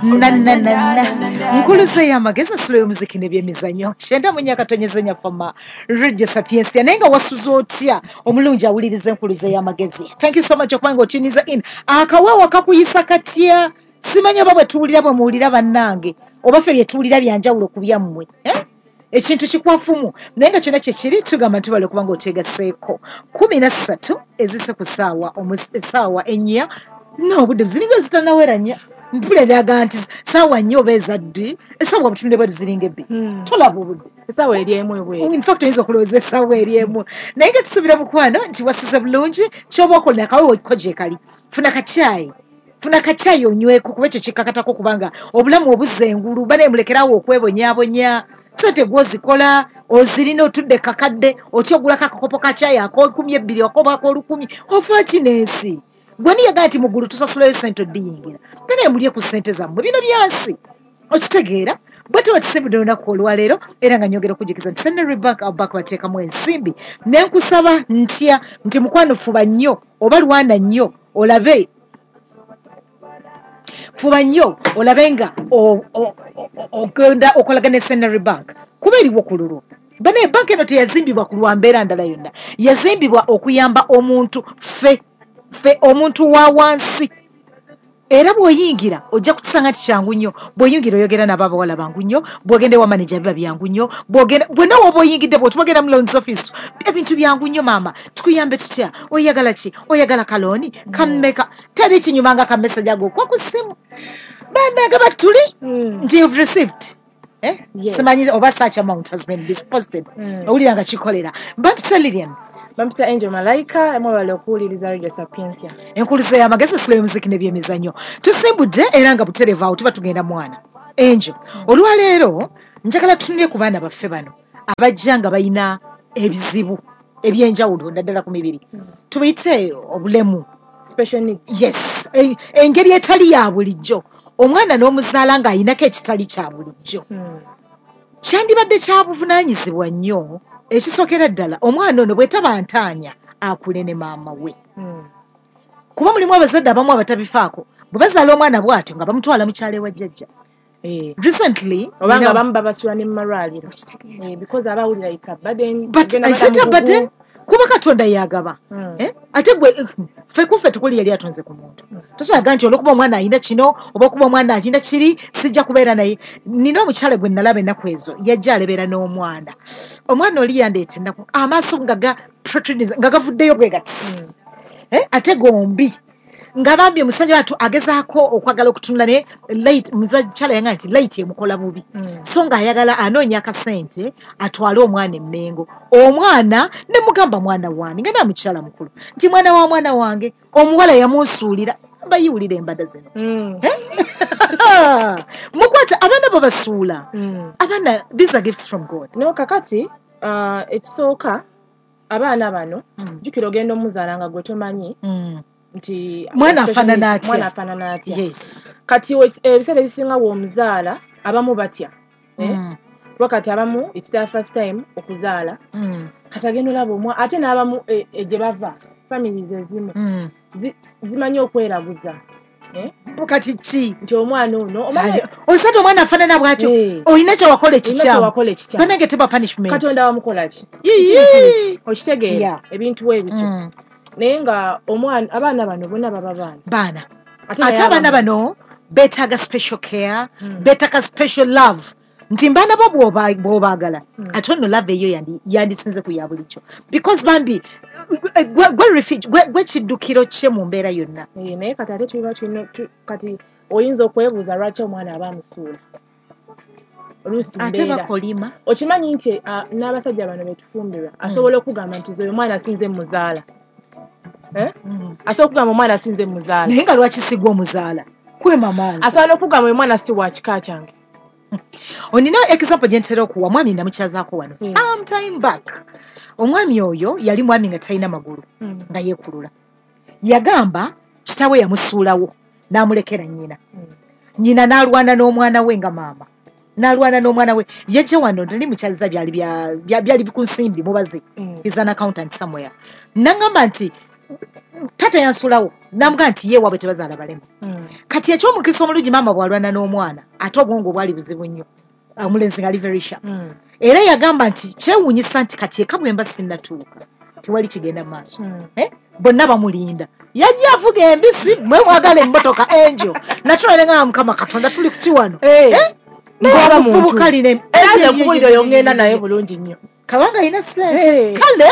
Nananana nkuluze y'amagezi, asulo y'omuziki n'ebyemizannyo, 94.4 fama Radio Sapiensia. Naye nga wasuze otya, omulungi awuliriza enkuluze y'amagezi? Thank you so much okubanga otuniza in. Akaweewo kakuyisa katya? Simanyi oba bwe tuwulira bwe muwulira, bannange, oba ffe bye tuwulira byanjawulo ku byammwe, eh? Ekintu kikwafumu, naye nga kyonna kyekiri, tugamba nti bale okubanga otegaseeko. 13 ezise ku ssaawa essaawa 4, n'obudde ziringa zitanawera 4. Mpulira njaga nti saawa 4 oba ezaddi, essaawa butunde bwetu ziringa 2. Tolaba obudde. Essaawa eri 1 ebweru. In fact, oyinza okulowooza essaawa eri 1, naye nga tusuubira, mukwano, nti wasuze bulungi. Kyoba okola, akawewo ko gye kali, funa kacyayi, funa kacyayi onyweko, kuba ekyo kikkakatako, kubanga obulamu obuzza engulu. Banaye, mulekerawo okwebonyaabonya. Sente gwozikola, ozirina, otudde kakadde otya ogulako akakopo ka cyayi ak'e 20 akoba ak'olukumi? Ofa ki n'ensi? Gwe niyagaa nti muggulu tusasulayo sente oddiyingira. Banaye, mulye ku ssente zammwe, bino byansi, okitegeera? Bwe tuba tusimbudde olunaku olwaleero, era nga nyongera okujjukiza nti Centenary Bank bank bateekamu ensimbi. Ne nkusaba ntya nti, mukwano, fuba nnyo oba lwana nnyo olabe, fuba nnyo olabe nga ogenda okolagana ne Centenary Bank, kuba eriwo ku lulwo. Banaye, banka eno teyazimbibwa ku lwa mbeera ndala yonna, yazimbibwa okuyamba omuntu, ffe ffe omuntu wa wansi. Era bw'oyingira ojja kukisanga nti kyangu nnyo. Bw'oyingira oyogera nabo abawala, bangu nnyo. Bw'ogenda ewa manager biba byangu nnyo. Bw'ogenda bwonna woba oyingidde, bw'otubagenda mu loans office, ebintu byangu nnyo. Maama, tukuyambe tutya? Oyagala ki? Oyagala ka loan kammeka? Teri kinyuma nga ka message ago okwa ku ssimu, bannange, batuli nti you've received, eh? Yes. Simanyi oba such amount has been deposited. Owulira nga kikolera. Bampita Lilian. Bampita Angel Malaika. Mwebale okuwuliriza Radio Sapiensia. Enkuluze y'amagezi, esula y'omuziki n'ebyemizannyo. Tusimbudde era nga butereevu awo tuba tugenda. Mwana Angel, olwaleero njagala tutunule ku baana baffe bano abajja nga balina ebizibu ebyenjawulo, naddala ku mibiri, tubiyite obulemu. Special needs. Yes, engeri etali ya bulijjo. Omwana n'omuzaala ng'ayinako ekitali kya bulijjo, kyandibadde kya buvunaanyizibwa nnyo. Ekisookera ddala, omwana ono bwetaba ntaanya, akule ne maama we, kuba mulimu abazadde abamu abatabifaako. Bwe bazaala omwana bw'atyo nga bamutwala mu kyalo ewa jjajja. Recently Oba nga abamu babasula ne mu malwaliro. Because abawulira it's a burden. But Ogenda is it a badamu burden? gugu. Kuba Katonda yagaba. Eh? Ate gwe, ffe kuffe tukuli yali atonze ku muntu. Tosobola nti olwokuba omwana alina kino oba okuba omwana alina kiri, sijja kubeera naye. Nina omukyala gwe nalaba ennaku ezo, yajja alebeera n'omwana. Omwana oli yandeeta ennaku, amaaso nga ga protruding, nga gavuddeyo bwe gati. Eh? Ate gombi nga bambi omusajja watu agezaako okwagala okutunula, naye light, mukyala yanga nti light emukola bubi. So ng'ayagala anoonya akasente atwale omwana emmengo. Omwana ne mugamba, "Mwana wange," nga namukyala mukulu, nti, "Mwana wa mwana wange omuwala yamunsuulira." Bayiwulira embada zino. Mukwata abaana babasuula. Abaana, these are gifts from God. No, kakati ekisooka, abaana bano, jjukira ogenda omuzaala nga gwe tomanyi nti Mwana afaanana atya? Mwana afaanana atya. Kati ebiseera ebisinga bw'omuzaala, abamu batya, eh? Kuba kati abamu it's their first time okuzaala. Kati agenda olaba omwa, ate n'abamu gye bava, families ezimu zimanyi okweraguza, eh? Kati ki? Nti omwana ono omanyi Osate omwana afaanana bw'atyo, olina kyewakola olina ekikyamu. Kyewakola ekikyamu. Banange, teba punishment. Katonda wamukola ki? Yii. Okitegeera? Ebintu bwe bityo. Naye nga omwana, abaana bano bonna baba baana. Baana. Ate Ate naye abaana abamu- bano beetaaga special care, beetaaga special love, nti mbaana bo bw'obaagala, ate nno love eyo yandisinze ku ya bulijjo, because bambi gwe refuge, gwe kiddukiro kye mu mbeera yonna. Eh, naye kati ate tuba tulina kati oyinza okwebuuza lwaki omwana aba amusuula oluusi. Ate Mbeera bakolima. Okimanyi nti n'abasajja bano betufumbirwa asobola okugamba nti oyo omwana sinze muzaala, eh? Asobola okugamba omwana sinze muzaala. Naye nga lwaki sigwa omuzaala kwema maazi? Asobola n'okugamba oyo mwana si wa kika kyange. Onina example gye ntera okuwa. Mwami namukyazaako wano some time back. Omwami oyo yali mwami nga talina magulu, nga yeekulula. Yagamba kitaawe yamusuulawo n'amulekera nnyina. Nnyina n'alwana n'omwana we, nga maama n'alwana n'omwana we. Yajja wano, nali mukyaziza, byali byali ku nsimbi mubazi. Is an accountant somewhere. Naŋŋamba nti Taata yansulawo namuga nti ye waabwe tebazaala balema. Kati ekyomukisa omulungi, maama bw'alwana n'omwana, ate obwongo bwali buzibu nnyo, omulenzi nga ali very sharp. Era yagamba nti kyewuunyisa nti kati eka bwe mba sinnatuuka tewali kigenda mu maaso. Bonna bamulinda, yajja avuga embisi, mwe mwagala emmotoka enjo natulale nga Mukama Katonda tuli kuki wano. Ng'omuvubuka lina Era nze nkubuulira, oyo ngenda naye bulungi nnyo. Kabanga alina sente. Eh. Kale.